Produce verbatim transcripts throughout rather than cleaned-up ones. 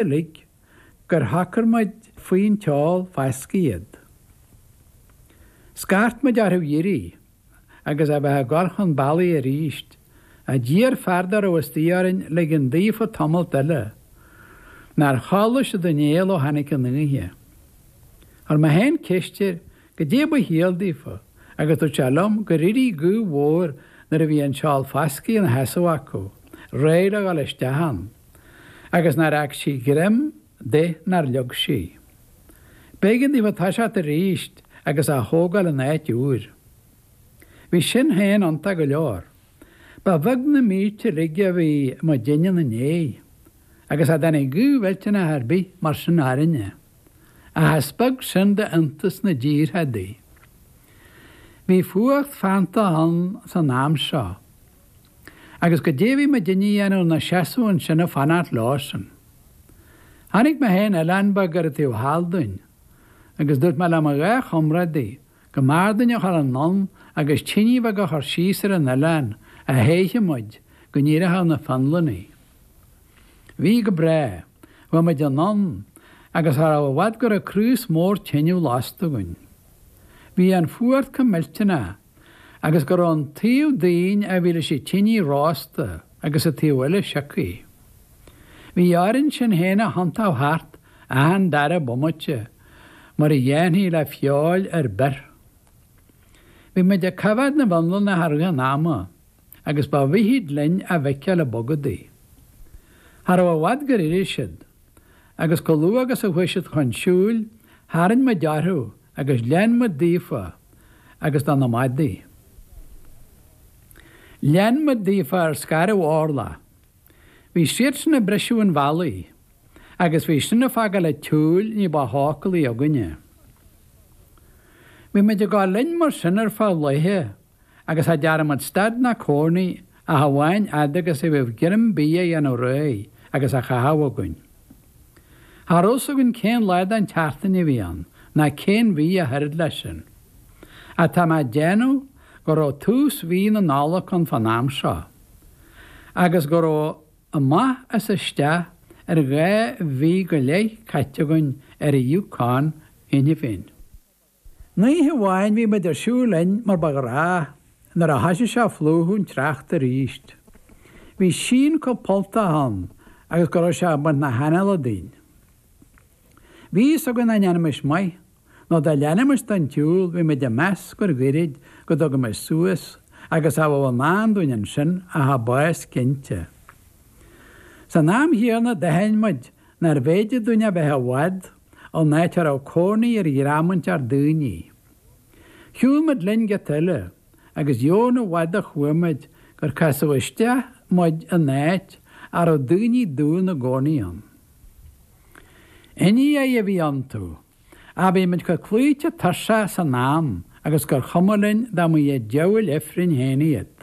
uilig gur shocair muid faoin tseol foscaidh iad. Scairt muid orthu iarraidh agus a bheith ag dul chun bealaigh arís, ach d'iarr fear dá raibh istigh orainn ligean daofa tamalt eile, nár chodlaigh siad an néal ó tháinig an oíche. Chuir mé féin ceist air goidé ba chiall daofa agus dúirt sé liom gur éirigh gaoth mhór nuair a bhí an seol foscaidh ina sheasamh acu, réidh le dhul isteach ann, agus nár fhág sí greim de nár leag sí. B'éigean daofa toiseacht arís agus á thógáil in áit úr. Bhí sin féin iontach go leor. Ba bheag na mílte uilig a bhí muidinne ina ndiaidh, agus cha dtáinig gaoth mhillteanach ar bith mar sin orainne. Ach is beag sin d'iontas na díorthadaí. Bhí fuacht feanntach ann san am seo, agus goidé a bhí muidinne a dhéanamh ná seasamh ansin ag fanacht leosan. Chonaic mé féin oileán beag ar an taobh thall dúinn, agus dúirt mé le mo dhá chomrádaí go mb'fhearr dúinn a dhul anonn agus tine bheag a chur síos ar an oileán a théifeadh muid go n-éireochadh na Fionlannaigh. Bhí go breá. Chuaigh muid anonn agus cha raibh i bhfad go raibh craos mór tineadh lasta againn. Bhí an fuacht chomh millteanach agus go raibh an taobh dínn a bhí leis an tinidh rósta agus an taobh eile sioctha. Bhí orainn sinn féin a thiontú thart achan dara bomaite mar a dhéanfaí le feoil ar bior. Bhí muid ag coimhéad na bhFionlannach i rith an ama agus ba mhithid linn a bhfeiceáil ag bogadaigh. Cha raibh i bhfad gur éirigh siad, agus chomh luath agus a chuaigh siad chun siúil, tharraing muid orthu agus lean muid daofa agus do na madaí. Lean muid daofa ar scairbh orlach. Bhí siadsan ag briseadh an bhealaigh agus bhí sin ag fágáil an tsiúil ní ba thócalaí againne. Bhí muid ag dul linn mar sin ar feadh laetha agus cha dtearn muid stad ná cónaí ach amháin fhad agus a bhíodh greim bídh a dhéanamh réidh agus á chaitheamh againn. Cha raibh fhios againn cén lá den tseachtain a bhí ann ná cén mhí ach oiread leis sin. Ach tá mé ag déanamh go raibh tús mhí na Nollag ann fán am seo agus go raibh amach is isteach ar dhá mhí go leith caite againn ar an Yukon cheana féin. Oíche amháin bhí muid ar siúl linn mar ba ghnách nuair a thoisigh sé ag plúchadh an tsneachta arís. Bhí síon chomh polltach ann agus go raibh sé ag baint na hanála dínn. Bhí fhios againn nach ndéanfaimis maith, nó dá leanfaimis den tsiúl bhí muid ag meas gur ghoirid go dtugaimis suas agus cha bheadh i ndán dúinn ansin ach an bás cinnte. San am chéanna d'aithin muid nárbh fhéidir dúinn a bheith i bhfad ón áit a raibh cónaí ar dhream inteacht daoine. Shiúil muid linn giota eile agus dheamhan i bhfad a chuaigh muid gur casadh isteach muid in áit a raibh daoine dubha ina gcónaí ann. Indiaigh a bhí iontu, ach bhí muid chomh cloíte tuirseach san am agus gur chuma linn dá mba iad diabhail ifrinn féin iad.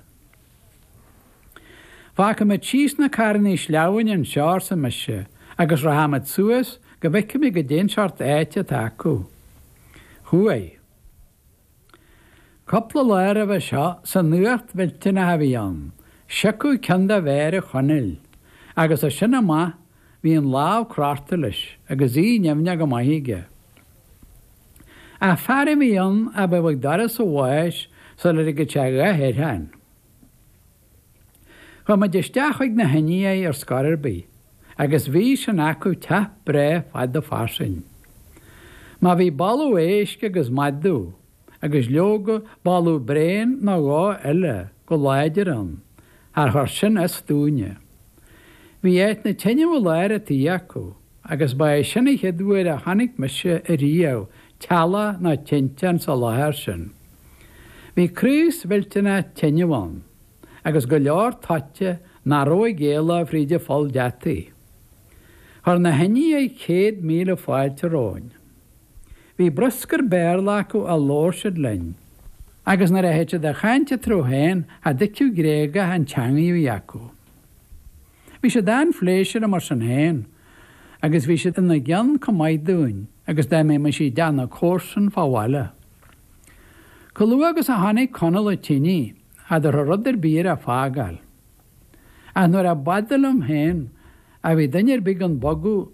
Fágfaidh muid síos na carrannaí sleamhain anseo, arsa mise, agus rachaidh muid suas go bhfeicfidh mé goidé'n seort áite atá acu. Chuaigh. Cúpla lá roimhe seo, san fhuacht mhillteanach a bhí ann, siocadh ceann de mhéara Chonaill, agus as sin amach bhí an lámh crochta leis agus í nimhneach go maith aige. Ach fear a bhí ann a bheadh ag doras an bháis sular ligeadh sé a dhath air féin. Chuaigh muid isteach chuig na hIndiaigh ar scor ar bith, agus bhí sin acu teach breá fada fairsing. Má bhí boladh éisc agus madadh, agus leoga boladh braon nó dhó eile go láidir ann, char chuir sin as dúinne. Bhí áit na tineadh i lár an tí acu, agus ba é sin an chéad uair a chonaic mise ariamh teallach nó tinteán sa láthair sin. Bhí craos mhillteanach tineadh ann, agus go leor toite nach raibh ag éaló fríd an pholl deataigh. Chuir na hIndiaigh céad míle fáilte romhainn. Bhí bruscar Béarla acu a labhair siad linn, agus nuair a thit siad a chaint eatarthu féin cha dtuigfeá gréagach an teangaidh a bhí acu. Bhí siad an-phléisiúrtha mar sin féin, agus bhí siad ina gcion chomh maith dúinn agus dá mbeimis i dteach na comharsan fá bhaile. Chomh luath agus a chonaic Conall an tinidh, cha dtabharfadh rud ar bith air é fágáil. Ach nuair a b'fhada liom féin a bhí duine ar bith gan bogadh,